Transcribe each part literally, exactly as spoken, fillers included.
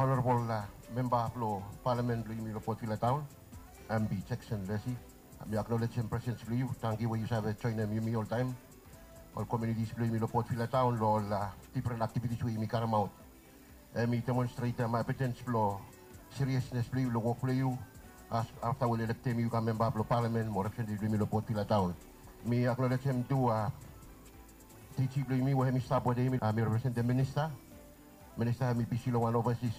Honorable memba blong palamen blong yumi long Port Vila taon, M B Jackson Lessie. Mi aknolejem presens blong yu. Tangkiu we yu save joenem yumi oltaem. Ol komiunitis blong yumi long Port Vila taon long ol difren aktivitis we yumi karemaot. Hemi demonstretem evidens blong siriesnes blong yu long wok blong yu afta we oli elektem yu kam memba blong palamen mo representetiv blong yumi long Port Vila taon. Mi aknolejem tu DG blong yumi we hemi stap wetem yumi, mi representem minista. Minista hemi bisi long wan ovasis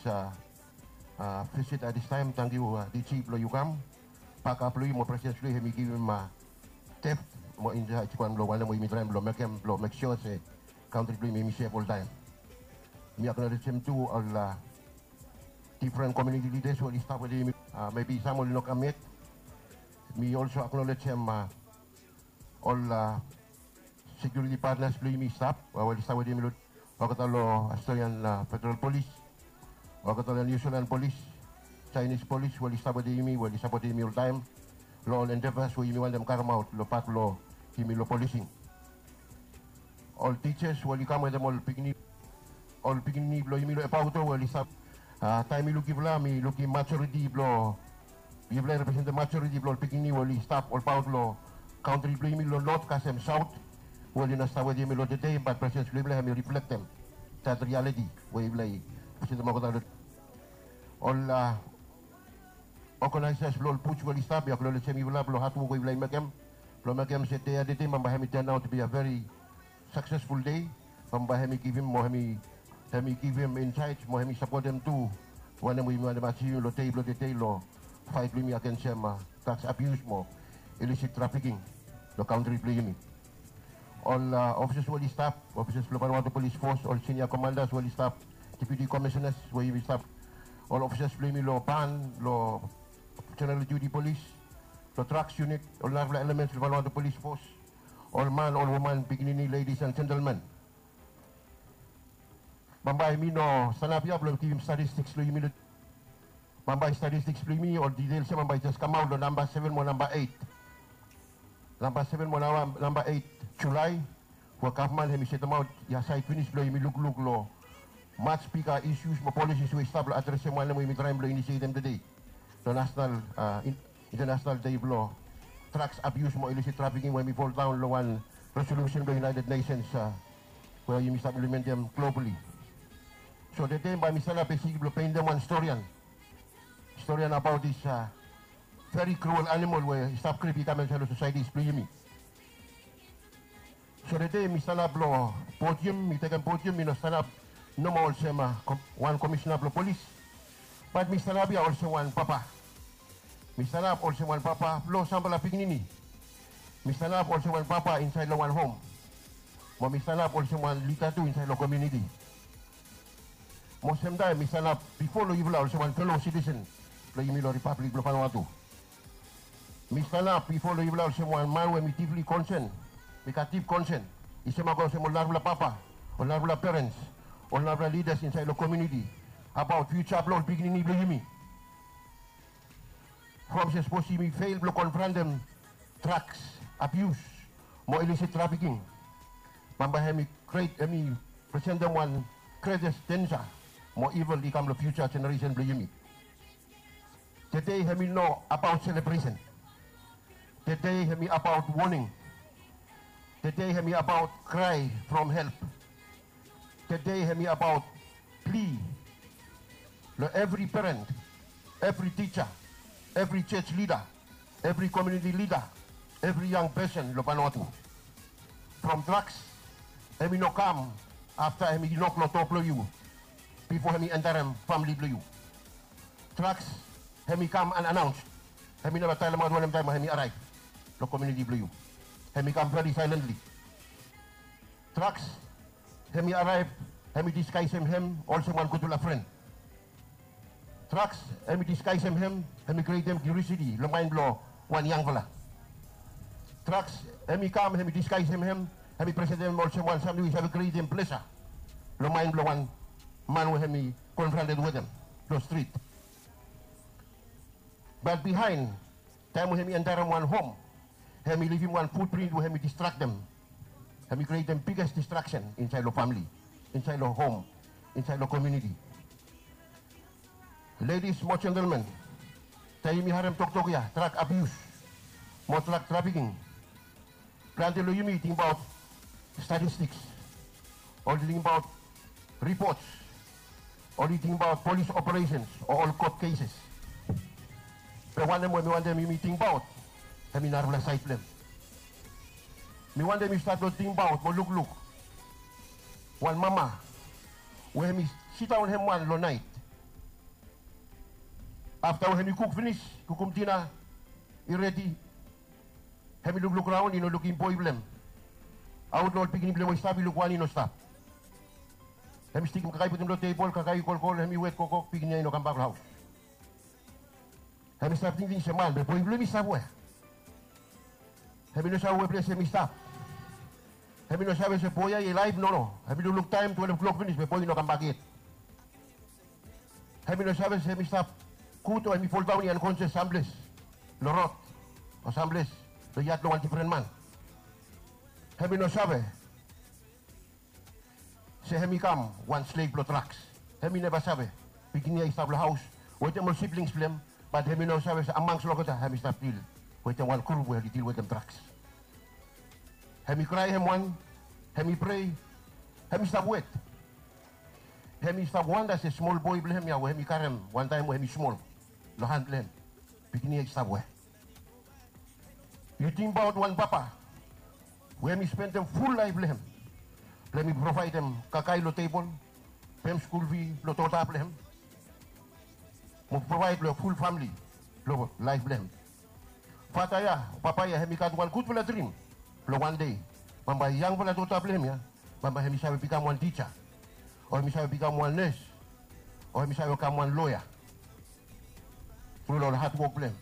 visit at this time. Tangkiu DG blong yu kam. Bakap blong yu mo presens blong yu hemi givim depth mo insaed wan blong wanem we yumi traem blong mekem blong mek sua se kantri blong yumi hemi sef oltaem. Mi aknolejem tu ol difren komiuniti lidas we oli stap wetem yumi. Mebi sam oli no kam yet. Mi olso aknolejem ol sekiuriti patnas blong yumi stap we oli stap wetem yumi long olgeta long Australian Federal Polis, olgeta long New Zealand Polis, Chinese Polis we oli stap wetem yumi, we oli sapotem yumi oltaem long ol endeavors we yumi wantem karemaot long pat blong yumi long policing. Ol tijas we oli kam wetem ol pikinini, ol pikinini blong yumi long Ebauto we oli stap. Taem mi luk yufala, mi lukim majoriti blong yufala i representem majoriti blong ol pikinini we oli stap olbaot long kantri blong yumi long not kasem saot, we oli no stap wetem yumi long tede, bat presens blong yufala hemi riflektem dat rialiti we yufala i representem olgeta long. Ol oganaesas blong ol buts we oli stap, mi aknolejem yufala blong hadwok we yufala i mekem blong mekem se dei ya tede bambae hemi turn out to be a very successful day. Bambae hemi givim mo hemi, hemi givim insaed mo hemi sapotem tu wanem we yumi wantem ajivim long dei blong tede long faet blong yumi agensem drugs abuse mo illicit trafficking long kantri blong yumi. Ol ofisas we oli stap, ofisas blong Vanuatu Polis Fos, ol sinia komandas we oli stap, deputi komisanas we yumi stap, ol ofisas blong yumi long ban, long jeneral diuti polis, long drugs unit, ol narafala elemens blong Vanuatu Polis Fos, ol man, ol woman, pikinini, ladies and gentlemen. Bambae mi no stanap ya blong givim statistiks long yumi. Bambae statistiks blong yumi, ol details ya bambae i jes kamaot long namba seven mo namba eit. Namba seven mo namba eit Julae we gavman hemi setemaot ya saed finis blong yumi lukluk long much bigger issues mo policies we i stap blong adresem wanem we yumi traem blong inisietem tede long nasenal, internasenal dei blong drugs abuse mo illicit trafficking we hemi foldaon long wan resolusen blong United Nations we yumi stap implementem globally. So tede bae mi stanap besikli blong pentem wan storian, storian abaot this very cruel animal we i stap krip i kam insaed long sosaitis blong yumi. So tede mi stanap long podium, mi tekem podium, mi no stanap nomo olsem wan komisena blong polis, bat mi stanap ya olsem wan papa. Mi stanap olsem wan papa blong samfala pikinini. Mi stanap olsem wan papa insaed long wan hom. Mo mi stanap olsem wan lida tu insaed long komiuniti. Mo semtaem mi stanap bifo long yufala olsem wan felo sitisen blong yumi long Ripablik blong Vanuatu. Mi stanap bifo long yufala olsem wan man we mi dipli konsen, mi gat dip konsen, i semak olsem ol narafala papa, ol narafala perens, ol narafala lidas insaed long komiuniti, abaot fiuja blong ol pikinini blong yumi. From se sapos yumi fel blong konfrantem drugs abius mo ilisit trafiking, bambae hemi gret, hemi presentem wan gretes denja mo ivil i kam long fiuja jeneresen blong yumi. Tede hemi no abaot selebresen. Tede hemi abaot woning. Tede hemi abaot krae from help. Tede hemi abaot pli long evri peren, evri tija, evri jos lida, evri komiuniti lida, evri yang pesen long Vanuatu. From drugs hemi no kam afta hemi nok long doa blong yu bifo hemi enterem famili blong yu. Drugs hemi kam unannounced. Hemi neva talemaot wanem taem hemi araev long komiuniti blong yu. Hemi kam veri saelentli. Drugs hemi araev, hemi diskaesem hem olsem wan gudfala fren. Drugs hemi diskaesem hem, hemi krietem kiriositi long maen blong wan yangfala. Drugs hemi kam, hemi diskaesem hem, hemi presentem olsem wan samting we i save krietem plesa long maen blong wan man we hemi konfranted wetem long strit. Bat bihaen, taem we hemi enterem wan hom, hemi livim wan futprint we hemi distraktem. Hemi krietem biges distraksen insaed long famili, insaed long hom, insaed long komiuniti. Ladies mo gentlemen, taem yumi harem toktok ya, drug abuse mo drug trafficking, plante long yumi i tingbaot statistiks, oli tingbaot ripots, oli tingbaot polis operesens o ol kot keses. Be wanem we mi wantem yumi tingbaot, hemi narafala saed blong hem. Mi wantem yu stat long tingbaot mo lukluk wan mama we hemi sidaon hem wan long naet. Afta we hemi kuk finis, kukum dina i redi, hemi lukluk raon, i no lukim boe blong hem. Aot long ol pikinini blong hem we i stap, i luk wan i no stap. Hemi stikim kakae putum long tebol, kakae i kolkol, hemi wet kokok, pikinini ya i no kambak long haos. Hemi stap tingting se man, be boe blong hem i stap wea? Hemi no save we ples hemi stap. Hemi no save se boe ya i laef, nono. Hemi lukluk taem twelef klok finis be boe i no kambak yet. Hemi no save se hemi stap gud o hemi foldaon i ankonsias samples long rod o samples long yad blong wan difren man. Hemi no save se hemi kam wan slev blong draks. Hemi neva save pikinini ya i stap long haos wetem ol siblings blong hem, bat hemi no save se amangsi olgeta hemi stap dil wetem wan grup we oli dil wetem draks. Hemi krae hem wan, hemi prea, hemi stap wet. Hemi stap wanda se smol boe blong hem ya we hemi karem wantaem we hemi smol long han blong hem, pikinini ya i stap wea? Yu tingbaot wan papa we hemi spendem ful laef blong hem blong hemi provaedem kakae long tebol, pem skul fi blong dota blong hem, mo provaed long ful famle blong laef blong hem. Fata ya, papa ya, hemi gat wan gudfala drim blong wan dei bambae yangfala dota blong hem ya bambae hemi save bikam wan tija, o hemi save bikam wan nes, o hemi save kam wan loea tru long ol hadwok blong hem.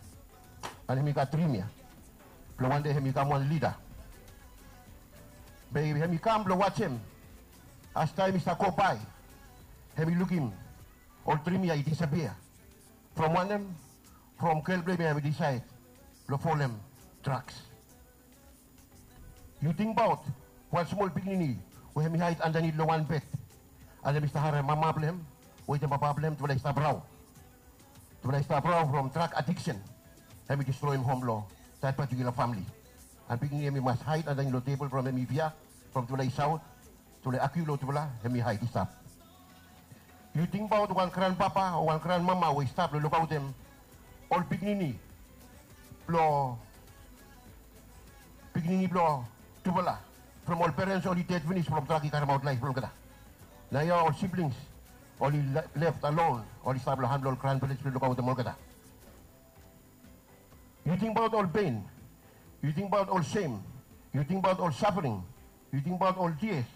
An hemi gat drim ya blong wan dei hemi kam wan lida. Be hemi kam blong wajem as taem i stap gobae, hemi lukim ol drim ya i disapia. From wanem? From gel blong hem ya hemi disaed blong folem draks. Yu tingbaot wan smol pikinini we hemi haed andanit long wan bed, an hemi stap harem mama blong hem wetem papa blong hem, tufala i stap raon. Tufala i stap raon from drak adiksen. Hemi distroem hom blong dat patikula famle. An pikinini hemi mas haed andanit long tebol from hemi fia, from tufala i saot, tufala i agiu long tufala, hemi haed i stap. Yu tingbaot wan granpapa o wan granmama we i stap long lukaotem ol pikinini blong, pikinini blong tufala from ol perens oli ded finis from drak i karemaot laef blong olgeta. Naoia ol siblings oli left alon, oli stap long han blong ol granperens blong lukaotem olgeta. Yu tingbaot ol pen, yu tingbaot ol sem, yu tingbaot ol safering, yu tingbaot ol tias.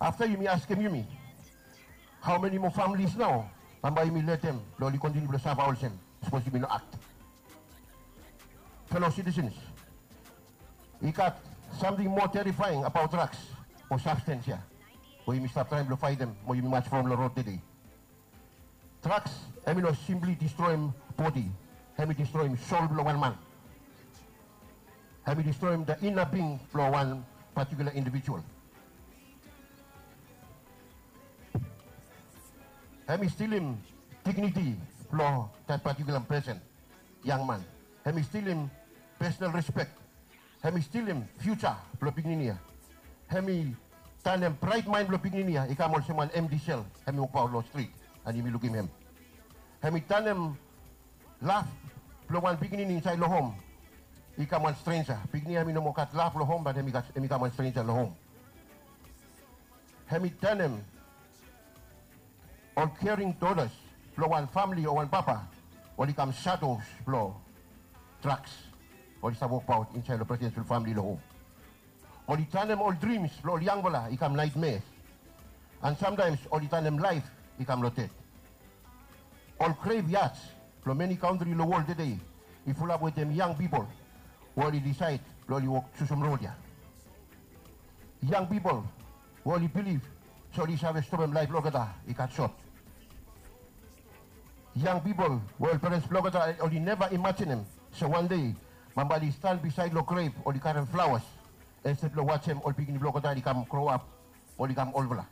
Afta yumi askem yumi, hao meni moa familis nao bambae yumi letem blong oli kontiniu blong safa olsem? Sapos yumi no akt. Felo sitisens, i gat samting moa terifaeng abaot draks o sabstens ya we yumi stap traem blong faetem mo yumi mas from long rod tede. Draks hemi no simpli distroem bodi, hemi distroem sol blong wan man. Hemi distroem the inner being blong wan patikula indivijual. Hemi stilim digniti blong dat patikula pesen, yang man. Hemi stilim pesonal rispek. Hemi stilim fiuja blong pikinini ya. Hemi tanem braet maen blong pikinini ya i kam olsem wan emti sel, hemi wokbaot long strit an yumi lukim hem. Hemi tanem laf blong wan pikinini insaed long hom i kam wan strenja. Pikinini ya hemi no moa gat laf long hom, bat hemi kam wan strenja long hom. Hemi tanem ol kering dotas blong wan famle o wan papa oli kam shadows blong draks oli stap wokbaot insaed long presidensel famle long hom. Oli tanem ol drims blong ol yangfala i kam naetmeas. An samtaems oli tanem laef i kam long ded. Ol greveyats blong meni kantri long wol tede i fulap wetem yang pipol we oli disaed blong oli wok jusum rod ya. Yang pipol we oli bilif se oli save stopem laef blong olgeta i gat sot. Yang pipol we ol perens blong olgeta oli neva imajenem se wan dei bambae oli stan bisaed long grev oli karem flaoas, insted blong wajem ol pikinini blong olgeta oli kam groap, oli kam olfala.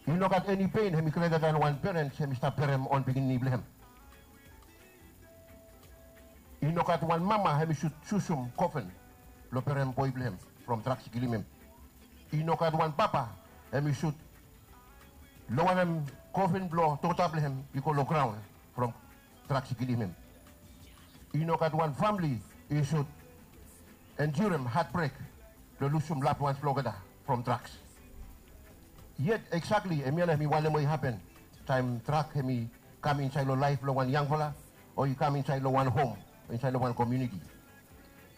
I no gat eni pen hemi greda dan wan perens hemi stap berem on pikinini blong hem. I no gat wan mama hemi sud susum kofen blong berem boe blong hem from draks i kilim hem. I no gat wan papa hemi sud lowarem kofen blong dota blong hem i go long graon from draks i kilim hem. I no gat wan famili i sud endurem hatbrek blong lusum loved ones blong olgeta from draks. Yet eksakli hemia nao hemi wanem we i hapen taem drak hemi kam insaed long laef blong wan yangfala o i kam insaed long wan hom o insaed long wan komuniti.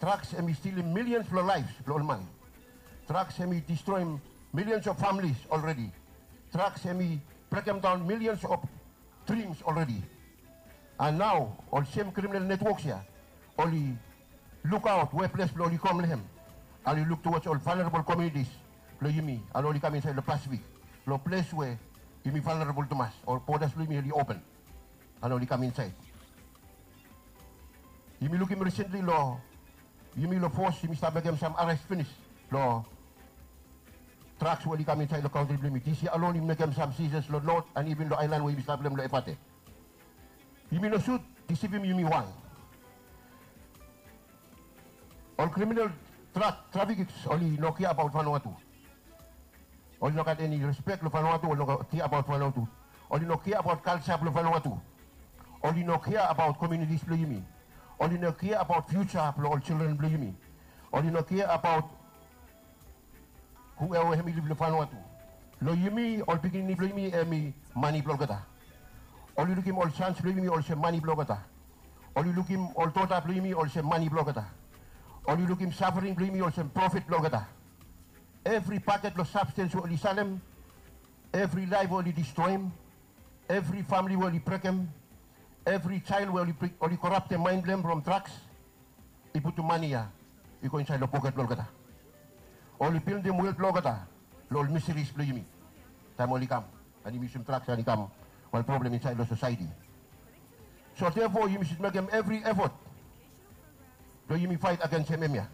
Draks hemi stilim milions blong laef blong ol man. Draks hemi distroem milions of families olredi. Draks hemi brekemdaon milions of drims olredi. And nao ol sem kriminal netwoks ya oli lukaot we ples blong oli go long hem. Oli luk tuwaj ol valnerabol komunitis blong yumi, and oli kam insaed long Pasifik, long ples we yumi valnerabol tumas, ol bodas blong yumi oli open and oli kam insaed. Yumi lukim risentli long yumi long fos yumi stap mekem sam ares finis long draks we oli kam insaed long kantri blong yumi. Dis yia alon yumi mekem sam sizes long not and iven long aelan we yumi stap long hem long Efate. Yumi no sud disivim yumi wan. Ol kriminal drak trafikas oli no kea abaot Vanuatu. Oli no gat eni respek long Vanuatu, oli no kea abaot Vanuatu. Oli no kea abaot kalja blong Vanuatu. Oli no kea abaot komunitis blong yumi. Oli no kea abaot fiuja blong ol jildren blong yumi. Oli no kea abaot hueva we hemi liv long Vanuatu. Long yumi ol pikinini blong yumi hemi mane blong olgeta. Oli lukim ol sans blong yumi olsem mane blong olgeta. Oli lukim ol dota blong yumi olsem mane blong olgeta. Oli lukim safering blong yumi olsem profit blong olgeta. Evri paket long sabstens we oli salem, evri laef we oli distroem, evri famili we oli brekem, evri jael we oli koraptem maen blong hem from draks, i putum mane ya i go insaed long poket blong olgeta. Oli bildim wel blong olgeta long ol miseris blong yumi taem oli kam and yumi yusum draks and i kam wan problem insaed long sosaeti. So therefore yumi sud mekem evri efot blong yumi faet agensem hemia.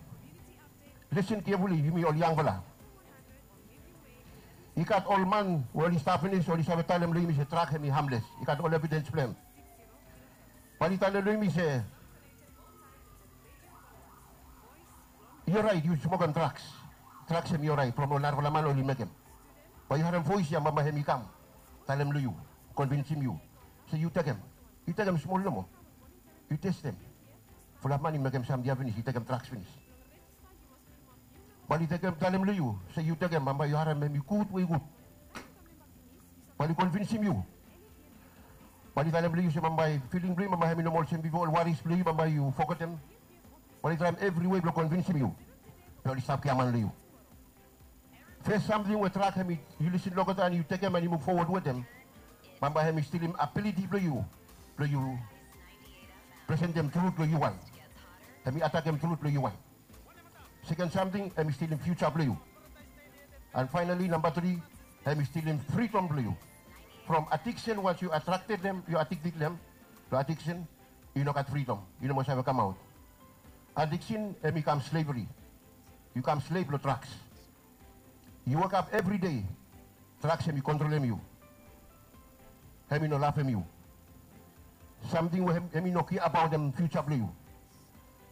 Listen carefully yumi ol yangfala. I gat ol man we oli stap finis oli save talem long yumi se drak hemi hamles. I gat ol evidens blong hem. Bae oli talem long yumi se i oraet yu smokem draks. Draks hemi oraet from ol narafala man oli mekem. Bae yu harem voes ya bambae hemi kam talem long yu, konvinsim yu se yu tekem. Yu tekem smol nomo. Yu testem. Fulap man i mekem samting ya finis, i tekem draks finis. Bae oli tekem talem long yu se yu tekem, bambae yu harem hemi gud we i gud. Bae oli konvinsim yu. Bae oli talem long yu se bambae filing blong yu bambae hemi no moa olsem bifo, ol waris blong yu bambae yu fogetem. Bae oli traem evri wei blong konvinsim yu. Be oli stap giaman long yu. Fes samting we drak hemi, yu lisin long olgeta and yu tekem and yu muv fowod wetem, bambae hemi stilim abiliti blong yu blong yu presentem trut long yu wan. Hemi atakem trut blong yu wan. Seken samting hemi stilim fiuja blong yu. And faenali namba tri, hemi stilim fridom blong yu. From adiksen, wans yu atrakted long hem, yu adikted long hem, long adiksen i no gat fridom, i no moa save kamaot. Adiksen hemi kam slevri. Yu kam slev long draks. Yu wokap evri dei, draks hemi kontrolem yu. Hemi no lavem yu. Samting we hemi no kea abaotem fiuja blong yu.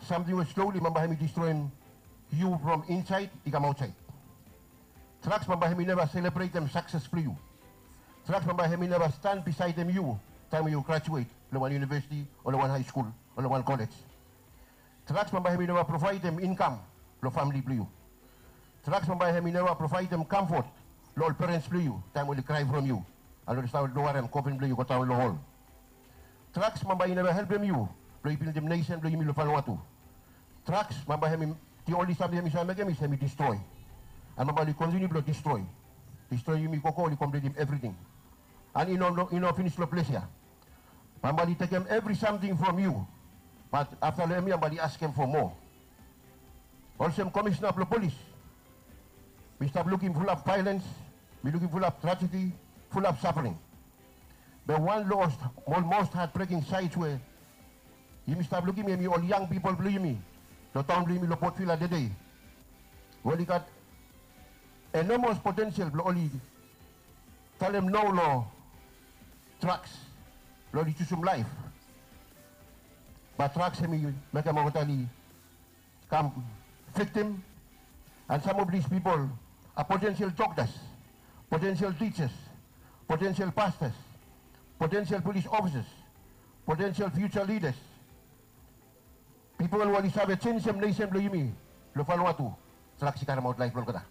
Samting we sloli bambae hemi distroem yu from insaed i kam aotsaed. Draks bambae hemi neva selebretem sakses blong yu. Draks bambae hemi neva stan bisaedem yu taem we yu grajuet long wan iunivesiti o long wan haeskul o long wan kolej. Draks bambae hemi neva provaedem inkam long famle blong yu. Draks bambae hemi neva provaedem kamfot long ol perens blong yu taem oli krae from yu and oli stap lowarem kofen blong yu i go daon long hol. Draks bambae i neva helpem yu blong yu bildim nesen blong yumi long Vanuatu. Draks bambae hemi, the only samting hemi save mekem is hemi distroe. And bambae oli kontiniu blong distroe. Distroe yumi gogo, oli kompletem evriting. And i no, i no finis long ples ya. Bambae oli tekem evri samting from yu. Bat afta long hemia bambae oli askem fo moa. Olsem komisina blong polis, mi stap lukim fulap vaelens, mi lukim fulap trajedi, fulap safering. Be wan long ol mos hatbreking saed we yumi stap lukim hemi ol yang pipol blong yumi long taon blong yumi long Port Vila tede, we oli gat enomos potensel blong oli talem no long drugs, long oli jusum laef. Bat drugs hemi mekem olgeta oli kam victim. And some of these people are potential doctors, potential teachers, potential pastors, potential police officers, potential future leaders. Pipol we oli save jenjem nesen blong yumi long Vanuatu. Drugs i karemaot laef blong olgeta.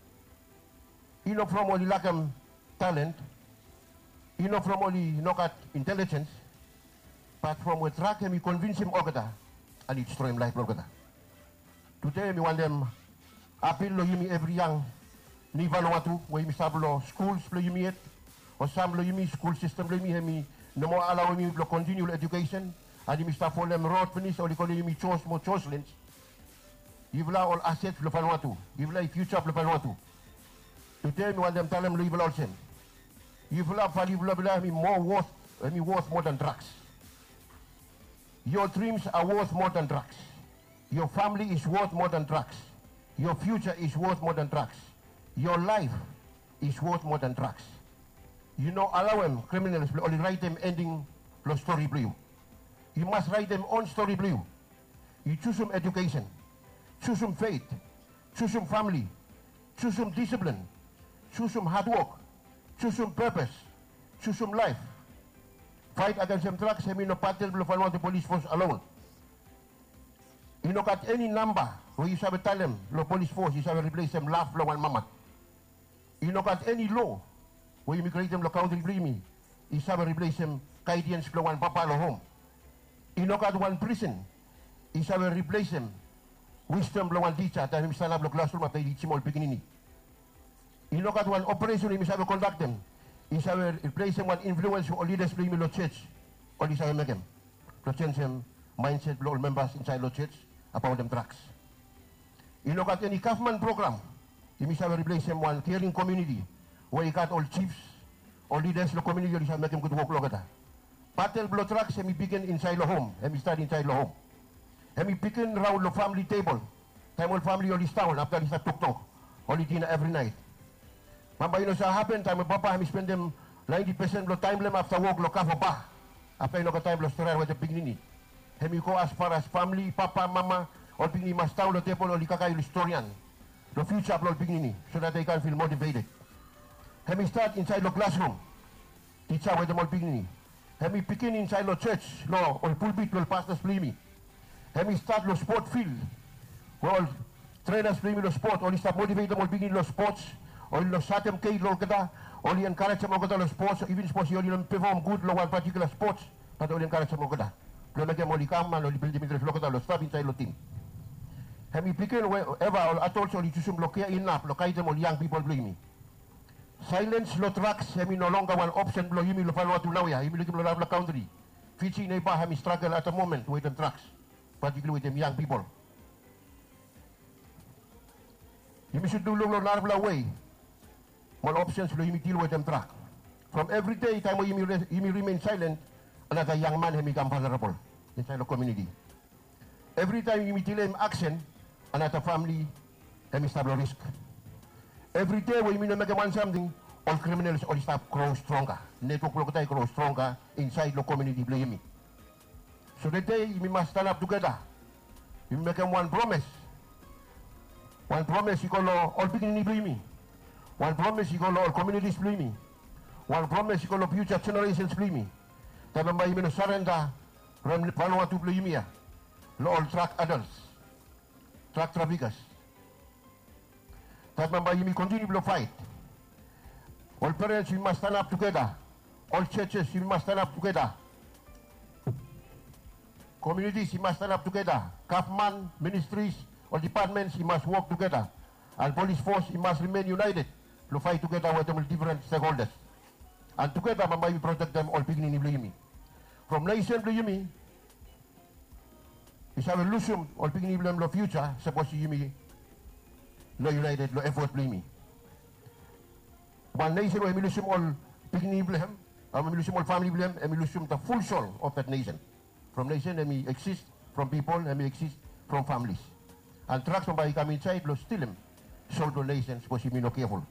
I no from oli lakem talent, i no from oli no gat intelligence, bat from we drug hemi konvinsim olgeta and i distroem laef blong olgeta. Tude mi wantem apil long yumi evri yang ni Vanuatu we yumi stap long skuls blong yumi yet, o sam blong yumi skul sistem blong yumi hemi no moa alaoem yumi blong kontiniu long edukesen, and yumi stap folem rod finis oli kolem yumi Jos mo Joslins. Yufala ol aset blong Vanuatu, yufala i fiuja blong Vanuatu. Tude mi wantem talem long yufala olsem, yufala, value blong yufala hemi moa worth, hemi worth more than drugs. Your dreams are worth more than drugs. Your family is worth more than drugs. Your future is worth more than drugs. Your life is worth more than drugs. Yu no alaoem criminals blong oli raetem ending long stori blong yu. Yu mas raetem own stori blong yu. Yu jusum edukesen, jusum faith, jusum famili, jusum disiplin, jusum hadwok, jusum pepes, jusum laef. Faet agensem drugs hemi no batel blong Vanuatu Polis Fos alon. I no gat eni namba we yu save talem long polis fos i save riplesem laf blong wan mama. I no gat eni loa we yumi krietem long kantri blong yumi i save riplesem gaediens blong wan papa long hom. I no gat wan prisen i save riplesem wisdom blong wan tija taem hemi stanap long klasrum afta i tijim ol pikinini. I no gat wan operesen we yumi save kondaktem i save riplesem wan influens we ol lidas blong yumi long jos oli save mekem blong jenjem maenset blong ol membas insaed long jos abaotem drugs. I no gat eni gavman program yumi save riplesem wan kering komuniti we i gat ol jifs, ol lidas long komuniti oli save mekem gud wok long olgeta. Batel blong drugs hemi bigin insaed long hom, hemi stat insaed long hom. Hemi bigin raon long famili tebol, taem ol famili oli sidaon afta oli stap toktok, oli dina evri naet. Bambae i no save hapen taem ol papa hemi spendem naenti pesen blong taem blong hem afta wok long kava ba. Afta i no gat taem blong storian wetem pikinini. Hemi go as far as famili, papa, mama, ol pikinini i mas sidaon long tebol oli kakae oli storian long fiuja blong ol pikinini so that they can feel motivated. Hemi stat insaed long klasrum, tija wetem ol pikinini. Hemi bigin insaed long jos, long ol pulpit blong ol pastas blong yumi. Hemi stat long spot fil we ol trenas blong yumi long spot oli stap motivetem ol pikinini long spots, oli no satem gei long olgeta, oli enkarejem olgeta long spots, iven sapos oli no pefom gud long wan patikula spots, bat oli enkarejem olgeta blong mekem oli kam and oli bildim intres blong olgeta long stap insaed long tim. Hemi bigin we eva ol adols oli jusum long kea inap long gaedem ol yang pipol blong yumi. Saelens long drugs hemi no longer wan opsen blong yumi long Vanuatu naoia. Yumi lukim long narafala kantri. Fiji neiba hemi stragel at the moment wetem drugs, patikula wetem yang pipol. Yumi sud tu luk long narafala wei mo ol opsens blong yumi dil wetem drag. From evri dei taem we yumi rimen saelen, another yang man hemi kam vulnerable insaed long komuniti. Evritaem yumi dileim aksen, another famili hemi stap long risk. Evri dei we yumi no mekem wan samting, ol criminals oli stap gro stronga. Netwok blong olgeta i gro stronga insaed long komuniti blong yumi. So tede yumi mas stanap tugeta. Yumi mekem wan promes. Wan promes i go long ol pikinini blong yumi. Wan promes i go long ol komunitis blong yumi. Wan promes i go long fiuja jeneresens blong yumi. Taem bambae yumi no sarenda long Vanuatu blong yumi ya long ol drag adals, drag trafikas. Taem bambae yumi kontiniu blong faet. Ol perens yumi mas stanap tugeta. Ol jojes yumi mas stanap tugeta. Komunitis i mas stanap tugeta. Gavman, ministris, ol dipatmens i mas wok tugeta. And polis fos i mas rimen yunaeted blong faet tugeta wetem ol difren stekholdas. And tugeta bambae yumi protektem ol pikinini blong yumi. From nesen blong yumi i save lusum ol pikinini blong hem long fiuja sapos yumi no yunaeted long efot blong yumi. Wan nesen we hemi lusum ol pikinini blong hem, hemi lusum ol famili blong hem, hemi lusum the full soul of that nation. From nesen hemi eksis from pipol, hemi eksis from familis. And drag bambae i kam insaed blong stilim sol blong nesen sapos yumi no keful.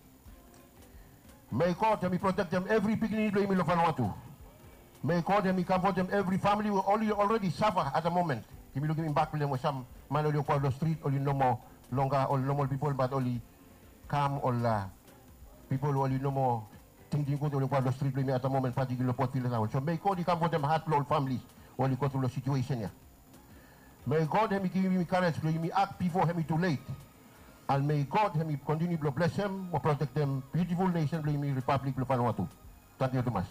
May God hemi protektem evri pikinini blong yumi long Vanuatu. May God hemi kamfotem evri famili we oli already safa at the moment. Yumi lukim impact blong hem we sam man oli wok long strit, oli no moa longa ol normal pipol, bat oli kam ol pipol we oli no moa tingting gud, oli wok long strit blong yumi at the moment, patikiula long Port Vila taon. So may God i kamfotem hat blong ol famili we oli go tru long situesen ya. May God hemi givim yumi karej blong yumi ak bifo hemi tu let. And may God hemi kontiniu blong blesem mo protektem biutiful nesen blong yumi, Ripablik blong Vanuatu. Tangkiu tumas.